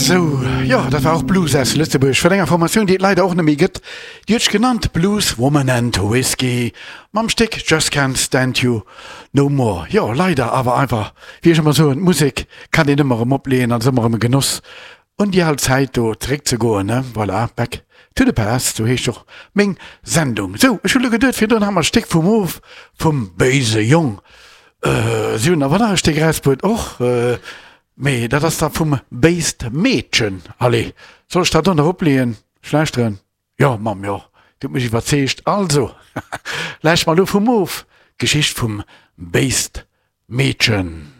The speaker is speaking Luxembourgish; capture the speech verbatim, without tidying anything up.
Sou, jo, dat war och Blues aus Lëtzebuerg vun enger Formatioun, déi et leider och net méi gëtt. Déi huet sech genannt Blues Woman and Whiskey mam Stéck Just Can't Stand You No More. Jo, leider, awer einfach, wéi ech ëmmer soen, d'Musek kann een ëmmer erëm opleeën an ass ëmmer erëm e Genoss, un déi al Zäit do zeréckzegoen, ne? Voilà, Back to the Past, sou heescht och meng Sendung. Sou, ech hu lo geduet, virdrun hat mer d'Stéck vum Of vum Béise Jong. Si hunn awer nach e Stéck erausbruet och. Mee dat ass da vum Béist Meedchen. Allez, soll ech dat do nach opleeën? Ech lauschteren. Jo, Mamm, jo, du hutt mech iwwerzeegt. Also, lauscht mer elo vum Of, d'Geschicht vum Béist Meedchen.